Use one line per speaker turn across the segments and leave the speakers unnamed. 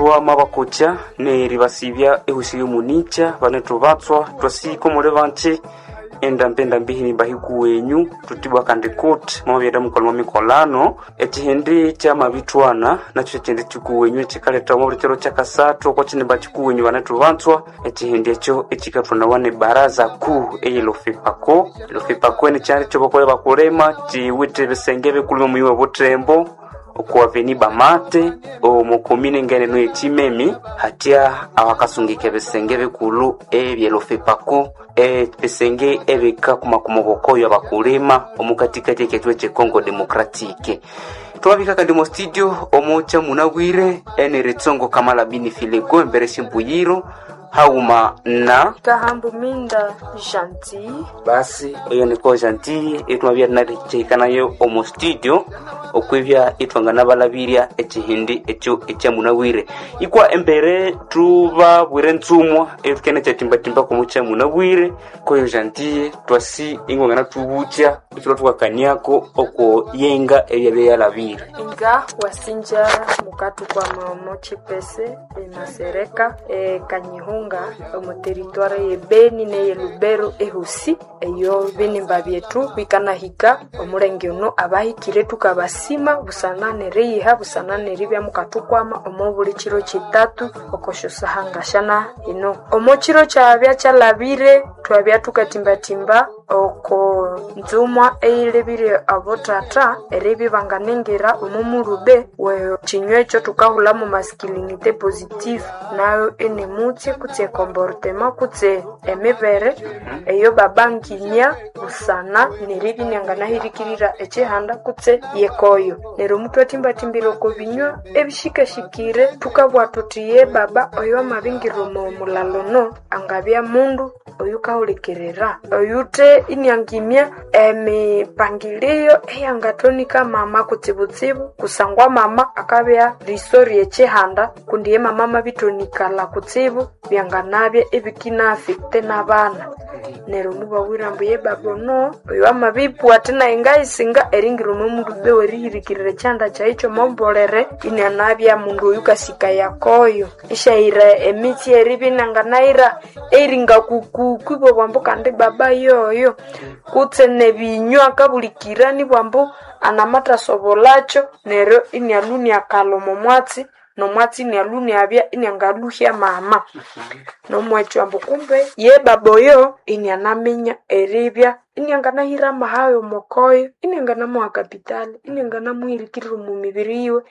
Twamabakokya neribasibya ehusi yomunicha banethubatswa twasika omuli banki endambi endambi hinimba hikuwenyu tutibwa kandi kuti mwamabyenda mukolha mikolano ekihindi kyamabithwana nakyo kyekindi kikuwenyu ekikaletha omo buli kiro kyakasathu oko kinimba kikuwenyu banethubatswa ekihindi ekyo ekikathwanawa ne baraza kuu eyelofepako elofepako eni kyali kyobakolha bakulima kiwithe ebisenge bikuluma omuyi webuthembo okuaveni bamate omukomine ngeneno yekimemi hatya awakasungika ebisenge bikulhu ebyelofepako ebisenge ebikakumakuma obukoyo abakulima omukatikati ekyethu ekye Congo Democratic. Twabika kandi mu studio omucha munabwire eneritsongo kamala bini filego embere syimbuyiro hauma na
Kahambu Minda Gentil.
Basi eyo niko Gentil etwabya nakyihikanayo omu studio okwibya ithwanganabalabirya ekihindi ekyo ekyamunabwire ikwa embere tubabwire ntsumwa etukene kyatimbatimba komu kyamunabwire koyo Gentil twasi ingwangana tubukya ithulwa thukakaniako oko yenga ebyabya yalabire.
Inga wasinja mukatu kwa maomo chipese emasereka ekanyihunga omu teritware ye Beni neye Lubero ehusi eyo binimba byethu bikanahika omulenge ono abahikire tukabasima busana neriyiha busana neribya mukathukwama omo buli kiro kitatu okosyosahangashana ino omo kiro kyabya kyalabire twabya tukatimbatimba oko nzumwa eyilebire abotata eribya banganengira omo mulube we kinywa ekyo tukahulhamu masculinité positive nayo inimutse kutse comportement kutse emibere eyo babanginya busana neribya inyanganahirikirira ekihanda kutse yekoyo. Neryo mutwatimbatimbira oko binywa ebishikashikire tukabugha thuthi ye baba oyo amabingira omo mulalo ono angabya mundu oyukahulikirira oyuthe iniangimya emipangilio eyangathonika mama kutsibutsibu kusangwa mama akabya riso ryekihanda kundi ye mama amabithonikalha kutsibu byanganabya ebikina-affecte n'abana. Neryo mubabwira ambu ye baba ono oyo amabipwa athi nayi ngayisinga eringira omo mulube werihirikirira ekyihanda kyayi kyomombolere inianabya mundu oyukasikaya koyo isyayira emitsi eribya inanganayira eringa kukuku ibabugha ambu kandi baba yoyo kutse nebinywa akabulikira nibwa ambu anamathasobolakyo neryo inialhwa iniakalha omo mwatsi nomwatsi inialhwa iniabya iniangalhuhya mama. Nomwekyo ambu kumbe ye baba oyo inianaminya eribya inianganahira amahayo omokoyo inianganamuha kapitali inianganamuhirikirira omu mibiri yiwe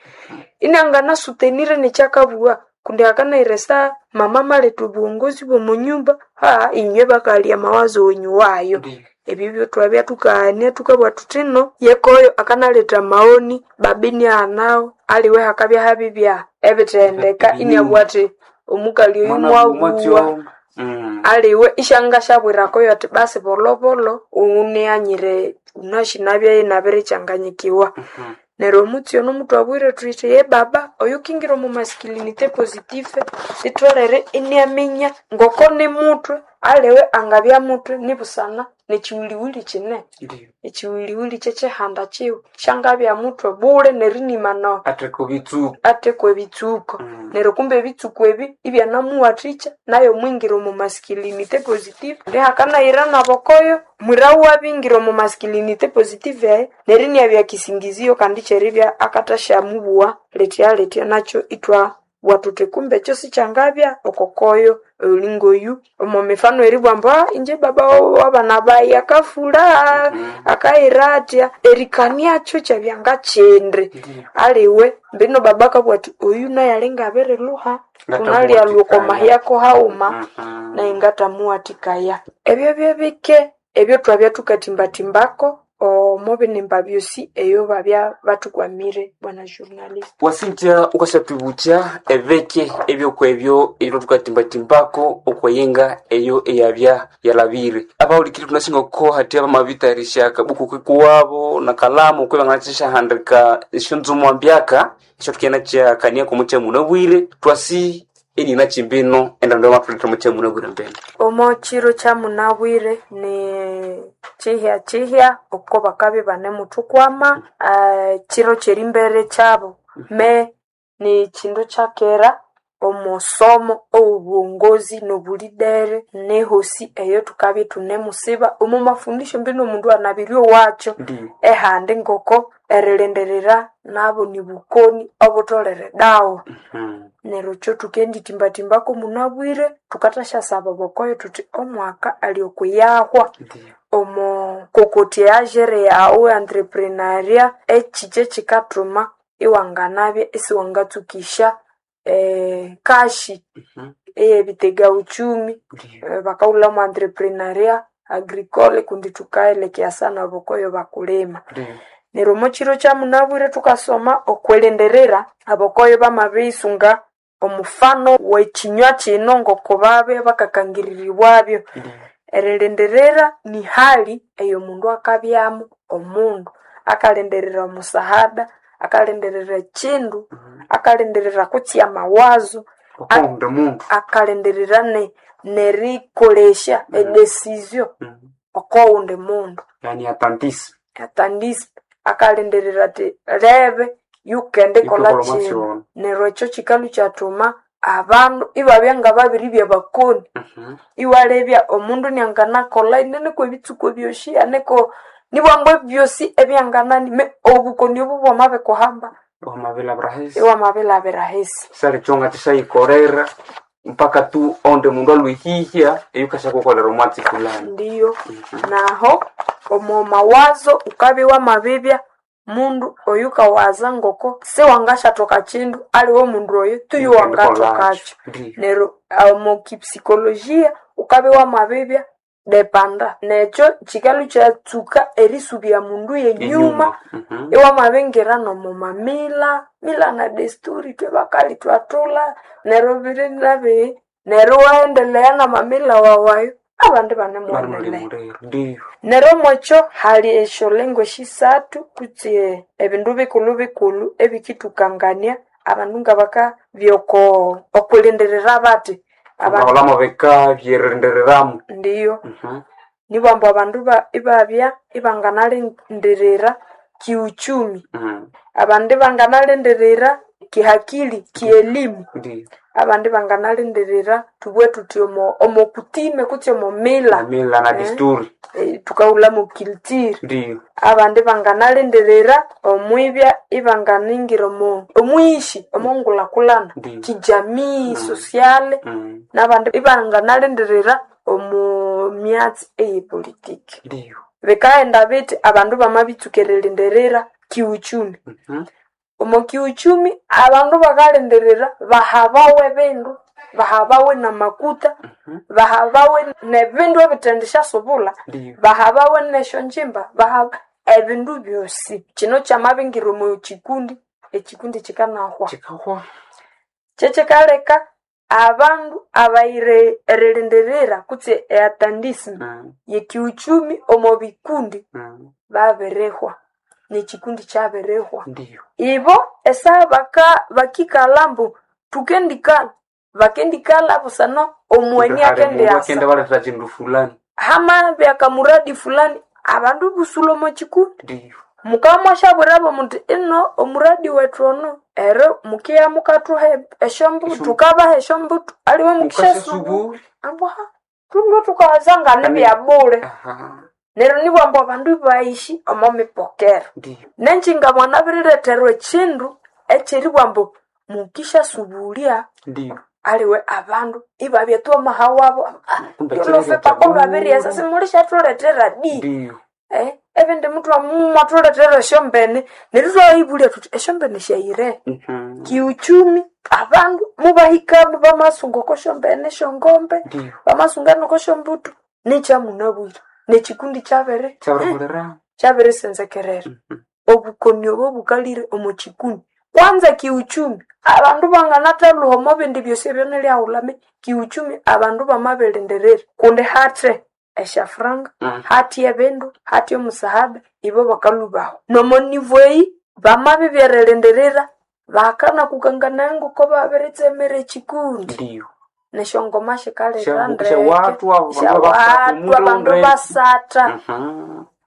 inianganasutenire nekyakabugha kundi akanayira esaha mama amaletha obuwongozi bw'omunyumba inywe bakalya amawazo wenyu wayo. Ebyo byotwabya tukaghania tukabugha thuthi no yekoyo akanaletha amaoni baba iniaghanawo aliwe hakabya habibya ebithendeka iniabugha athi omukali oyu mwabugha aliwe isyangasyabwirakoyo athi basi bolhobolho unianyire wunasi nabya inabirikyanganyikiwa. Neryo omutsi ono muthwabwire thuthi ye baba oyukingira omu masculinité positive litholere iniaminya ngoko nimuthwe aliwe angabya muthwe nibusana nekyiwuliwuli kine. Ekyiwuliwuli kyekyihanda kyiwe syangabya muthwe bule nerinimana athekwa ebitsuko. Neryo kumbe ebitsuko ebi ibyanamuwathikya nayo mwingira omu masculinité positive hakanayira nabokoyo mwira wabingira omu masculinité positive eyo neryo iniabya kisingizio kandi kyeribya akathasyamubuwa lithya lithya nakyo ithwabugha thuthi kumbe ekyo sikyangabya okokoyo olingoyu omo mifano eribugha ambu inje baba wabana bayi akafulha akayira athya erikaniakyo kyabya ngakyindi aliwe mbino baba akabugha athi oyu nayu alinga abirilhuha thunalyalu oko mahyako haghuma nayi ngathamuwathikaya. Ebyo byebike ebyo thwabya thukatimbatimbako omo binimba byosi eyo babya bathukwamire bwana journalist.
Wasinja ukasyatubukya ebeke ebyokwebyo ebyo thukatimbatimbako okweyenga eyo eyabya yalabire abahulikiri thunasinga oko hathya bamabitayarisya akabuku kikuwabo na kalamu okwe banganakisyahandika esyonzumwa mbyaka esyathukenda kyakaniako mukyamunabwire twasi enina kimbino endando yamathuletha mukyamunabwire mbino.
Omo kiro kyamunabwire ni kihya kihya oko bakabya ibanemuthukwama kiro kyerimbere kyabo me ni kindu kyakera. Omosomo ow'obuongozi n'obulidere nehosi eyo tukabya itunemusiba omo mafundisho mbino omundu anabirye owakyo.
Ndiyo.
Ehandi ngoko erilindirira nabo nibukoni obutholere dawa. Neryo kyo thukenditimba-timbako munabwire, thukathasya obokoyo thuthi omwaka ali okuyahwa.
Ndiyo.
Omo kokotya eajere yaghu entrepreneuria ekyi kyekikathuma iwanganabya isiwangatsukisya kashi eyebitega uchumi.
Ndiyo.
Bakahulhamu entrepreneuria agricole kundi thukaelekea sana obokoyo bakulima.
Ndiyo.
Neryo omo kiro kyamunabwire thukasoma okwilindirira, abakoyo bamabirisunga omufano w'ekinywa kino ngoko babya bakakangiriribwabyo.
Ndiyo.
Erilindirira ni hali eyomundu akabyamu omundu akalindirira omusahada, akalindirira ekindu, akalindirira kutsi amawazo,
Okuwundi mundu.
akalindirira nerikolesya edecision okowundi mundu.
Yani atantisi.
Atandisi akalindirira athi lebe yukendikolha
Yukekolha
kino.
omwatsi
Neryo ekyo kikalhu kyathuma abandu ibabya ngababiribya bakoni. Iwalebya omundu nianganakolha inaneko ebitsuko ebyosi aneko nibwambu ebyosi ebyanganani me obukoni obu bwamabikuhamba
Wamabilabira hesi.
iwamabilabira hesi.
Sali chonga tishayikolera mpaka tu onde mundu alwihihya eyukashakukolera omwatsi fulani.
Ndiyo. Naho omo mawazo ukabya wamabibya mundu oyukawaza ngoko siwangasyathoka kindu aliwe omundu oyo tuyu wangathokakyo.
Ndiyo.
Neryo omo kipsikolojia ukabya wamabibya depanda nekyo kikalhu kyatsuka erisubya mundu yenyuma. Iwamabingira nomo mamila mila na desturi ithwe bakali thwathulha neryo biri nabihi neryo iwaendelea namamila wawu ayo abandi banemuwendelea.
Banemulimuliro. Ndiyo.
Neryo omwekyo hali esyolengo esisathu kutse ebindu bikulhu-bikulhu ebikithukangania abandu ngabakabya oko okwilindirira bathi.
Abaholamo bika byerendereramu.
Ndiyo. Nibwambu abandu ibabya ibanganalindirira kiuchumi, abandi banganalindirira kihakili, kielimu,
Ndiyo.
abandi banganalindirira thubughe thuthi omo omokutime kutse omo mila.
Mila na desturi.
Thukahulhamu culture.
Ndiyo.
Abandi banganalindirira omwibya ibanganingira omo omwishi omongulhakulhana
Ndiyo.
kijamii, sociale, nabandi ibanganalindirira omo myatsi eyepolitiki.
Ndiyo.
Bikaghenda bithi abandu bamabitsuka erilindirira kiuchumi. Omo kiuchumi abandu bakalindirira bahabawe ebindu, bahabawe namakuta, bahabawe nebindu ebithendisyasobulha,
Ndiyo.
bahabawe nesyonjimba, bahaba ebindu byosi. Kino kyamabingira omo kikundi, ekikundi kikanahwa.
Kikahwa.
Kyekikaleka abandu abayire erilindirira kutse eatandism yekiuchumi omo bikundi babirihwa nekikundi kyabirihwa.
Ndiyo.
Ibo esaha baka bakikalha ambu thukendikalha, bakendikalha busana omugheni akendiasa.
Akende balethera kindu fulani.
Hamabya akamuradi fulani abandu ibusulha omo kikundi.
Ndiyo.
Mukabya mwashabwirabo muthi ino omuradi wethu ono ero mukiya mukathuha esyombutu thukabaha esyombutu aliwe mukishyasubulya.
Mukasasubulya.
Ambu ha thulwe thukawaza nganibyabule.
Aha.
Neryo nibwambu abandu ibayishi omo mipokero.
Ndiyo.
Nenjinga mwanabiriletherwa ekindu ekyeribugha ambu mukishyasubulya
Ndiyo.
aliwe abandu ibabya tu amaha wabo
Kumbe
lolofe
kyererya
paka olwabiriyasa
kyabule.
simulisyathulethera di.
Ndiyo.
Ebindi mwathuletera esyombene neryo ithwayibulya thuthi esyombene syayire. Kiuchumi abandu mubahikamu bamasunga okosyombene esyongombe,
Ndiyo.
bamasunga nokosyombutu nekyamunabwire nekikundi kyabiri
Kyabirikolera.
kyabirisenzekerera. Obukoni obo bukalire omo kikundi. Kwanza kiuchumi abandu banganathalhuha omo bindi byosi ebyonilyaghulhame kiuchumi abandu bamabilindirira kundi hathe esyafuranga, hathe ebindu, hathe omusahada ibo bakalhubaho. Nomo nivo eyi bamabibya erilindirira bakanakukanganaya ngoko babiritsemera ekikundi.
Ndiyo.
Nesyongoma sikalira ndeke,
Syawathu abandu
syawathu abandu basatha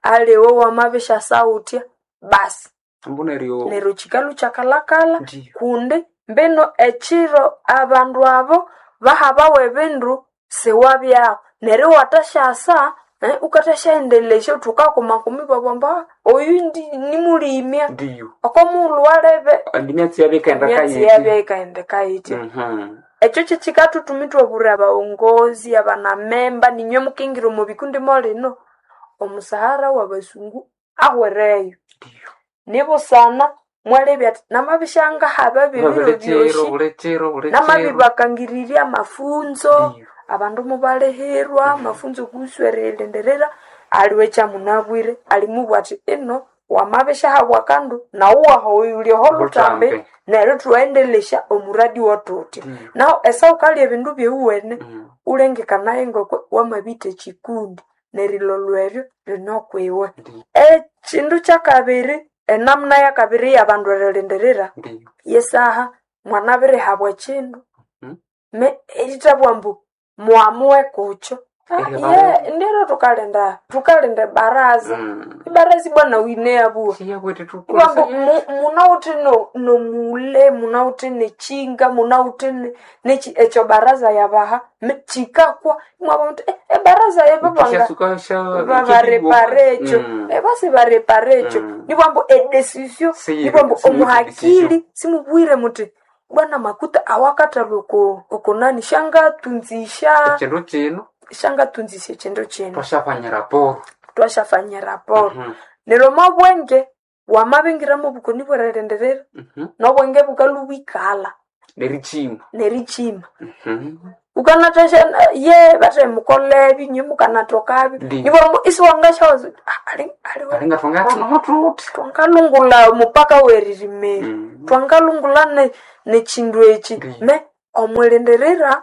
aliwe wamabisyasaghutya basi.
Ambu neryo
Neryo kikalhu kyakalhakalha
Ndiyo.
kundi. Mbino ekiro abandu abo bahabawa ebindu siwabyaho neryo iwathasyasa ukathasyaendelesya uthi wukakomakoma ibabugha ambu oyu nimulimya
Ndiyo.
oko mughulhu walebe
Andi myatsi yabya ikaghenda
emyatsi
kayitya.
yabya yikaghenda yitya. Ekyo kyekikathuthuma ithwabulira abaghongozi, abanamemba, ninywe mukingira omo bikundi molino, omusahara wabasungu ahwereyo.
Ndiyo.
Nibusana mwalebya athi namabisya ngahaba bebiro
Bulekiro,
byosi,
bulekiro, bulekiro.
namabibakangirirya amafunzo,
Ndiyo.
abandu mubalihirwa, amafunzo kuhusu eriyilindirira, aliwe ekyamunabwire, alimubwira athi ino wamabisyahabwa akandu nawu wahoyulya oho lutambi
Lutambi.
neryo thughendelesya omuradi wothuthya.
Ndiyo.
Nahu esawukalya ebindu byewuwene ulengekanaye ngoko wamabitha ekikundi nerilolwa eryo rinokwiwe.
Ndiyo.
Ekindu kyakabiri, enamuna yakabiri yabandu erilindirira,
Ndiyo.
yesaha mwanabirihabwa ekindu me erithabugha ambu muamue kukyo.
Eribara-
Ye ndiro thukalinda thukalinda ebaraza. Ibaraza ibwa nawu yineyabugha.
Siyabwete
Ibwa ambu
tukolesa.
munawithe nomule, munawithe nekyinga, munawithe neki ekyo baraza yabaha kyikakwa imwabugha muthi ebaraza yababanga
Kyasuka sha
babarepara ekyo basi barepara ekyo nibwa ambu edecision nibwa ambu omuhakili simubwire muthi bwana makuta awakathalwa oko okonani syangatunzisya
Ekindu kino
syangatunzisya ekindu kino
twashafanya raporo.
twashafanya raporo. Neryo omwabwenge wamabingira mobukoni bwerilindirira nobwenge bukalhwa bwikalha
Nerichima.
nerikyima. Wukanathasya ye bathe mukolebi inywe mukanathokabyo
Ndiyo.
nibwa ambu isiwangasyawaza wuthi ali aliwe
Alinga twangatonotuti.
twangalungula omupaka weririmeri twangalungula nekindu eki
Ndiyo.
me omwilindirira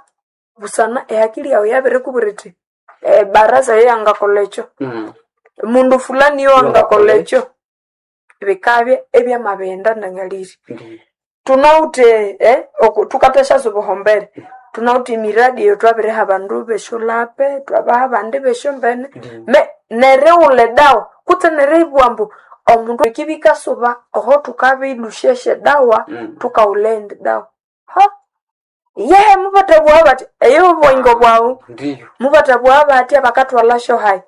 busana ehakili yawu yabirikubwira ithi ebaraza yeyangakolha ekyo mundu fulani yowangakolha ekyo bikabya ebyamabighenda nangalire.
Ndiyo.
Thunawithe thukathasyaza obuhombere, thunawithe emiradi eyatwabiriha abandu besyolhape, thwabaha abandi besyombene,
Ndiyo.
me nerighulha edawa kutse neribugha ambu omundu ekibya ikasuba oho thukabilusyasya edawa thukaghulha eyindi dawa. Ha! Yehe mubathabugha bathi eyo obuyingo bwaghu,
Ndiyo.
mubathabugha bathya bakathwalha hayi.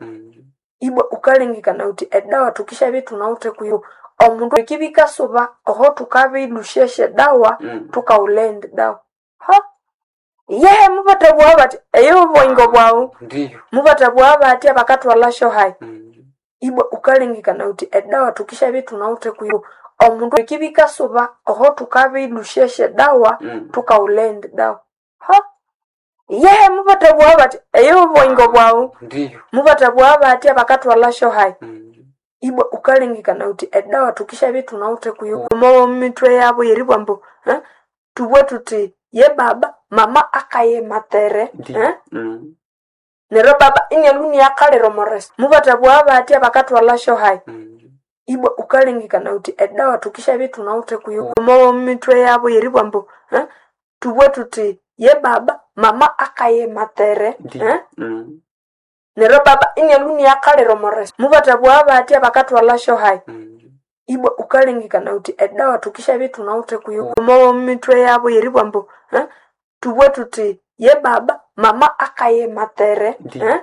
Ibwa wukalengekana wuthi edawa thukisyabya ithunawithe kuyo omundu ekibya ikasuba oho thukabilusyasya edawa thukaghulha eyindi dawa. Ha! Yehe mubathabugha bathi eyo obuyingo bwaghu,
Ndiyo.
mubathabugha bathya bakathwalha hayi. Ibwa wukalengekana wuthi edawa thukisyabya ithunawithe kuyo omundu ekibya ikasuba oho thukabilusyasya edawa thukaghulha eyindi dawa. Ha! Yehe mubathabugha bathi eyo obuyingo bwaghu,
Ndiyo.
mubathabugha bathya bakathwalha hayi. Ibwa wukalengekana wuthi edawa thukisyabya ithunawithe kuyo omo mithwe yabo yeribugha ambu thubughe thuthi ye baba mama akayematere
Ndiyo.
neryo baba inialhwa iniakalira omo resto. Mubathabugha bathya bakathwalha hayi. Ibwa wukalengekana wuthi edawa thukisyabya ithunawithe kuyo omo mithwe yabo yeribugha ambu thubughe thuthi ye baba mama akayematere
Ndiyo.
neryo baba inialhwa iniakalira omo resto. Mubathabugha bathya bakathwalha hayi. Ibwa wukalengekana wuthi edawa thukisyabya ithunawithe kuyo omo mithwe yabo yeribugha ambu thubughe thuthi ye baba mama akayematere
Ndiyo.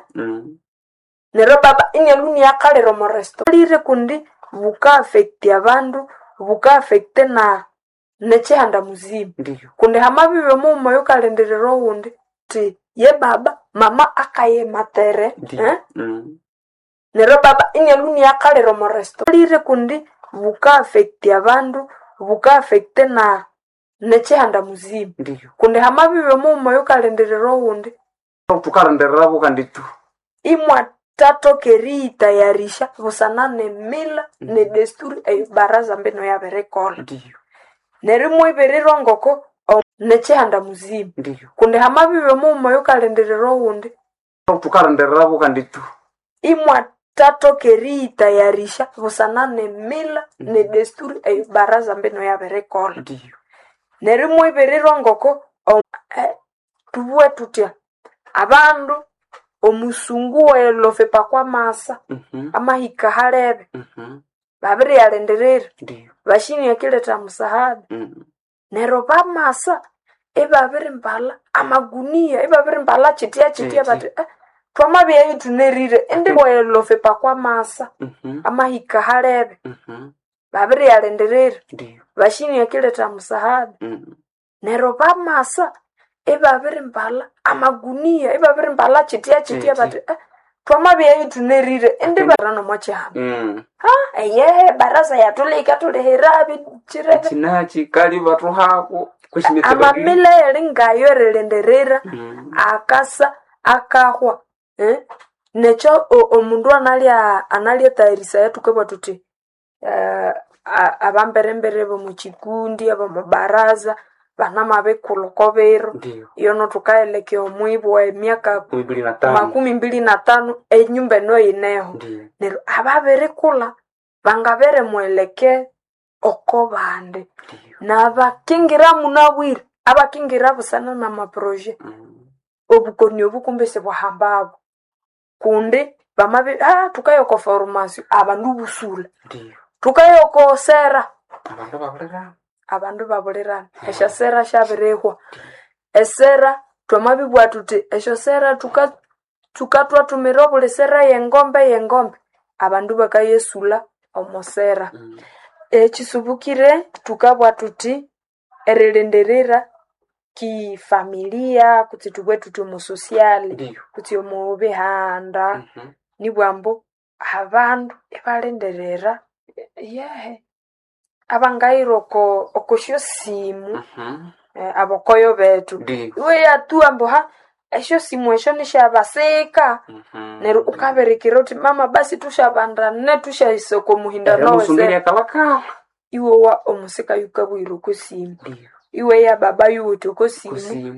neryo baba inialhwa iniakalira omo resto. Lire kundi buka-affect abandu, buka-affect na nekyihanda muzima.
Ndiyo.
Kundi hamabibya omughuma oyukalindirira owundi thi ye baba mama akayematere
Ndiyo.
neryo baba inialhwa iniakalira omo resto. Lire kundi buka-affect abandu, buka-affect na nekyihanda muzima.
Ndiyo.
Kundi hamabibya omughuma oyukalindirira owundi
Thukalindirira kandi tu.
imwathathoka eriyitayarisya busana nemila nedesturi eyo baraza mbino yabirikolha.
Ndiyo.
Neryo imwibirirwa ngoko nekyihanda muzima.
Ndiyo.
Kundi hamabibya omughuma oyukalindirira owundi
Thukalindirira kandi tu.
imwathathoka eriyitayarisya busana nemila nedesturi eyo baraza mbino yabirikolha.
Ndiyo.
Neryo imwibirirwa ngoko thubughe thuthya abandu omusungu welofepa kwamasa amahika halebe babiriyalindirira
Ndiyo.
bashini akiletha musahada. Neryo bamasa ibabirimbala amagunia, ibabirimbala kyitya kyitya
Kyitya.
bati twamabya ithunerire indi bwelofepa kwamasa amahika halebe babiriyalindirira
Ndiyo.
bashini akiletha musahada. Neryo bamasa ibabirimbala amagunia, ibabirimbala kyitya kyitya
Kyitya.
bati twamabya ithunerire indi barano mokyihanda. Eyehe baraza yatulika tulihira bikyirebe
Ekinachi kali bathuhako
amamila eri ngayo erilindirira akasa akahwa Nekyo omundu analya analyatayarisaya thukabugha thuthi abamberembere bomukyikundi abomubaraza banamabikulha oko biro
Ndiyo.
iyono thukaelekea omwibo emyaka
25.
25 enyumba eno yineho.
Ndiyo.
Neryo ababirikulha bangabirimuelekea oko bandi.
Ndiyo.
Nabakingira munabwire, abakingira busana namaproje obukoni obu kumbe sibwahambabo kundi bamabi thukaya oko formasyo abandu busula,
Ndiyo.
thukaya oko sera
Abandu babulira.
abandu babulirana. Esyosera syabirihwa. Esera twamabibugha thuthi esyosera thuka thukatwathumira obuli sera yengombe yengombe abandu bakayesulha omo sera. Ekisubukire thukabugha thuthi erilindirira kifamilia kutse thubughe thuthi omo sosiali
Ndiyo.
kutse omo bihanda nibugha ambu abandu ibalindirira yehe abangayira oko okosyosimu abokoyo bethu.
Ndiyo.
Iwe yatuwa ambu esyosimu esyo nisyabasika neryo ukabirikira wuthi mama basi thushabandane thusyahisa oko muhindano
Erimusunga
wesera.
eryakalakala.
Iwowa omusika yukabughira oko simu.
Ndiyo.
Iweya baba yuwithe oko simu.
Kusimu.